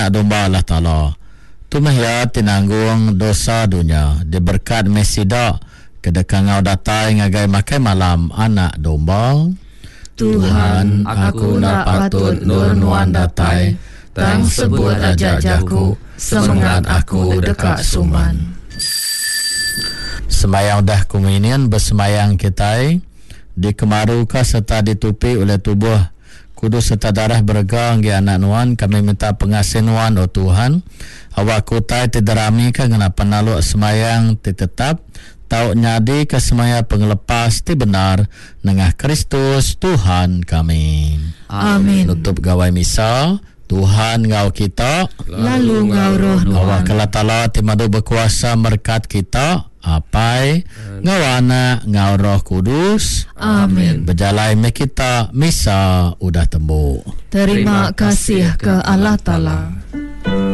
Anak Domba Allah Taala. Tu meh iya ti nanggung dosa dunya. Diberekat meh sida ke deka enggau datai ngagai makai malam Anak Domba. Tuhan, aku enda patut endur Nuan datai, tang sebut aja jaku, semengat aku deka suman. Semayang udah komunion besemayang kitai dikemaruka sereta ditupi ulih tubuh kudus sereta darah berega enggi Anak Nuan, kami minta pengasih Nuan, O Tuhan, awakka utai ti diramika ngena penaluk semayang ti tetap tau nyadika semaya pengelepas ti bendar nengah Kristus Tuhan kami. Amin. Nutup Gawai Misa, Tuhan enggau kita. Lalu enggau roh nuan. Awakka Allah Taala ti madu bekuasa merekat kita, Apai, enggau Anak, enggau Roh Kudus. Amin. Bejalai meh kita, Misa udah tembu. Terima kasih ke Allah Taala.